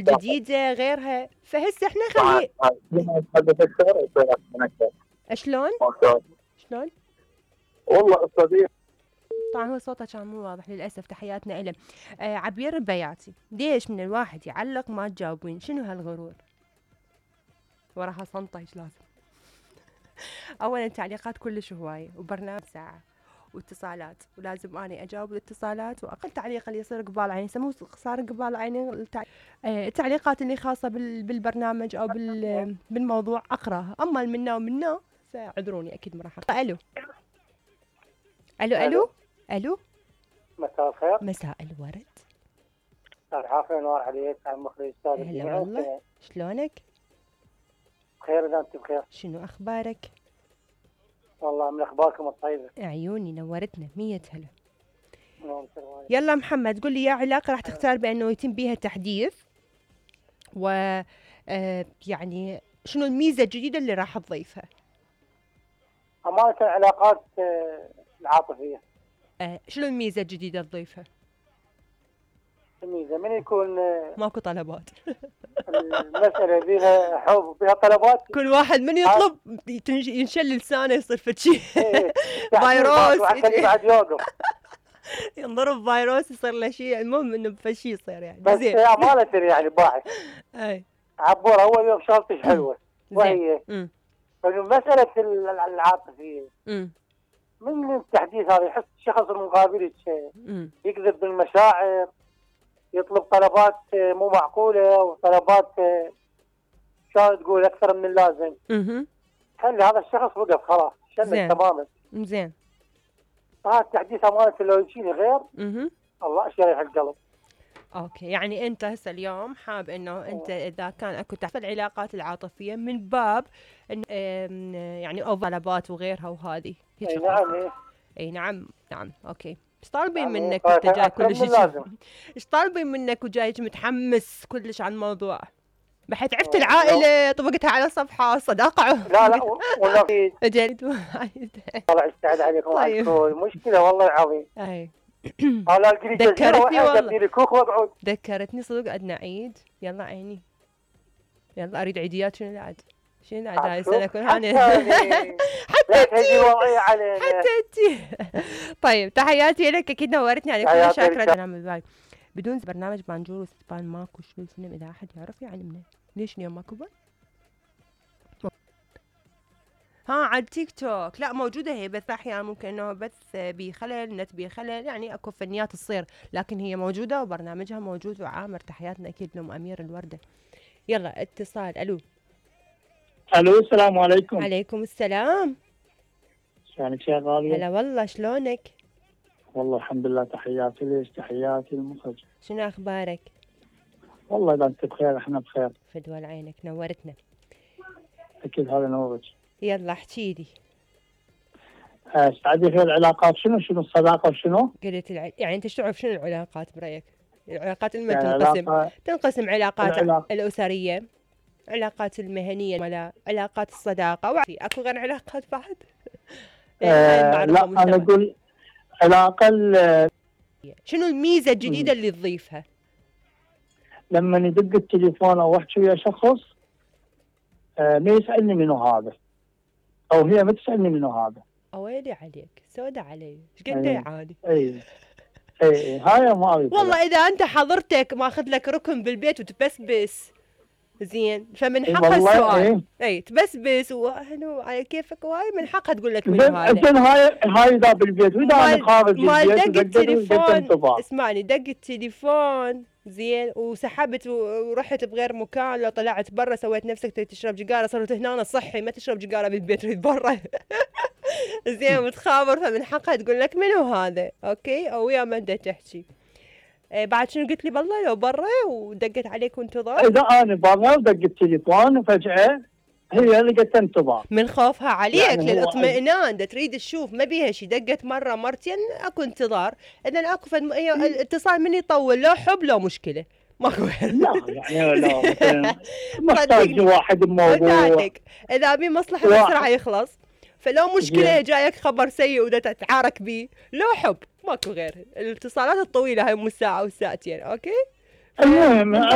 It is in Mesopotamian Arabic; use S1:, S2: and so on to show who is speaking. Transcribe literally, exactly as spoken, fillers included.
S1: جديدة غيرها، فهسه احنا خلي شلون؟ شلون؟
S2: والله استاذ
S1: طبعا هو صوته كان مو واضح للاسف، تحياتنا له. آه عبير البياتي، ليش من الواحد يعلق ما تجاوبين؟ شنو هالغرور؟ وراها صنطه ايش لازم؟ اولا تعليقات كلش هوايه، وبرنامج ساعه واتصالات، ولازم اني اجاوب الاتصالات، واقل تعليق اللي يصير قبال عيني سموه صار قبال عيني التع... آه التعليقات اللي خاصه بال... بالبرنامج او بال... بالموضوع اقراها، اما منا ومنا فاعذروني اكيد ما راح اقرا. الو الو الو الو
S3: مساء الخير.
S1: مساء الورد.
S3: استاذ عافية نور عليك، عم مخرج استاذ.
S1: هلا والله، شلونك؟
S3: بخير اذا انت بخير.
S1: شنو اخبارك؟
S3: والله من اخباركم الطيبة.
S1: عيوني نورتنا، مية هلا.
S3: نعم.
S1: يلا محمد قول لي يا علاقة راح تختار بانه يتم بيها تحديث، و آه يعني شنو الميزة الجديدة اللي راح تضيفها؟
S3: أمانة العلاقات آه العاطفية.
S1: آه شنو الميزة الجديدة تضيفها؟
S3: الميزة من يكون آه
S1: ماكو طلبات.
S3: المسألة بيها حب بيها طلبات،
S1: كل واحد من يطلب ينشل لسانه يصير فشي.
S3: ايه
S1: فيروس
S3: وعشان بعد يوقف
S1: ينضرب فيروس يصير له شيء، المهم انه بفشي يصير يعني.
S3: بس
S1: زين
S3: أمانة يعني باحث.
S1: اي
S3: عبور اول يوم شغلتش حلوة، وهي
S1: امم
S3: مسألة العاطفية
S1: امم
S3: من التحديث هذا يحس الشخص المقابل يكذب بالمشاعر، يطلب طلبات مو معقولة وطلبات شلون تقول أكثر من اللازم.
S1: اها
S3: خلي هذا الشخص وقف خلاص شلل تماما.
S1: زين
S3: هذا التحديث أمانة لو يجيني غير
S1: اها
S3: الله يشرح القلب.
S1: اوكي، يعني انت هسه اليوم حاب انه انت اذا كان اكو تحت العلاقات العاطفيه من باب إن يعني او طلبات وغيرها وهذه هيك.
S3: اي نعم.
S1: اي نعم نعم اوكي. ايش طالبين منك وانت جاي كلش ايش طالبين منك وجاي متحمس كلش على الموضوع؟ بحيث عرفت العائله طبقتها على صفحه صداقه.
S3: لا لا والله
S1: اجل
S3: الله يستعد عليكم. طيب مشكله والله العظيم.
S1: اي
S3: ذكرتني والله
S1: ذكرتني صدق. عندنا عيد، يلا عيني يلا اريد عيديات. شنو العد؟ شنو العد هاي السنه كل هاني؟ حتى انتي حتى انتي. طيب تحياتي لك، اكيد نورتني عليك، كل شاكره. انا من بالي بدون برنامج بانجور وستبان ماكو شنو الفيلم، اذا احد يعرف يعلمنا ليش اليوم ماكو بث؟ ها على التيك توك لا موجوده هي، بث احيانا ممكن انه بث بخلل، نت بخلل، يعني اكو فنيات تصير، لكن هي موجوده وبرنامجها موجود وعامر. تحياتنا اكيد لام امير الورده. يلا اتصال. الو
S2: الو السلام عليكم.
S1: عليكم السلام.
S2: شلونك يا غالية؟
S1: هلا والله، شلونك؟
S2: والله الحمد لله. تحياتي ليش؟ تحياتي المخرج.
S1: شنو اخبارك؟
S2: والله اذا انت بخير احنا بخير.
S1: فدوى عينك، نورتنا.
S2: اكيد هذا نورك.
S1: يلا احكي لي.
S2: استعدي في العلاقات شنو شنو الصداقه وشنو؟
S1: قلت الع... يعني انت شو تعرف شنو العلاقات برايك؟ العلاقات لما يعني تنقسم علاقة... تنقسم علاقات العلاقة. الاسريه، علاقات المهنيه، ولا علاقات الصداقه، وفي اكو غير علاقات بعد؟
S2: آه لا انا اقول علاقه ال...
S1: شنو الميزه الجديده اللي تضيفها؟
S2: لما يدق التليفون او احكي ويا شخص آه ما يسالني منو هذا، او هي ما تسالني منو هذا.
S1: اويلي عليك، سودة علي، ايش قد يعاني؟
S2: اي اي هاي ما اريد.
S1: والله اذا انت حضرتك ماخذ لك ركن بالبيت وتبسبس زين، فمن حقها السؤال. اي ايه تبسبس وهنو على كيفك، وهاي من حقها تقول لك منو هذا.
S2: زين هاي هاي اذا بالبيت، واذا انا خارج البيت
S1: دق التليفون. اسمعني، دق التليفون زين وسحبت ورحت بغير مكان، لو طلعت برا سويت نفسك تشرب جقاره، صرت هنا صحي ما تشرب جقاره بالبيت تريد برا. زين وتخابر، فمن حقها تقول لك منو هذا. اوكي، او ويا ما انت تحكي. إيه بعد شنو قلت لي؟ بالله لو برا ودقت عليك وانتظار.
S2: اذا انا برا ودق التليفون وفجاه هي اللي قالت انتظار
S1: من خوفها عليك يعني للاطمئنان، دا تريد تشوف ما بيها شيء، دقت مره مرتين اكو انتظار. اذا اكو فد... الاتصال من يطول، لو حب لو مشكله ماكو.
S2: لا يعني لا محتاج واحد بموضوع،
S1: اذا بي مصلحه بسرعه يخلص، فلو مشكله جايك خبر سيء ودا تتعارك بيه، لو حب ماكو غير. الاتصالات الطويله هاي مو ساعه وساعتين. اوكي
S2: المهم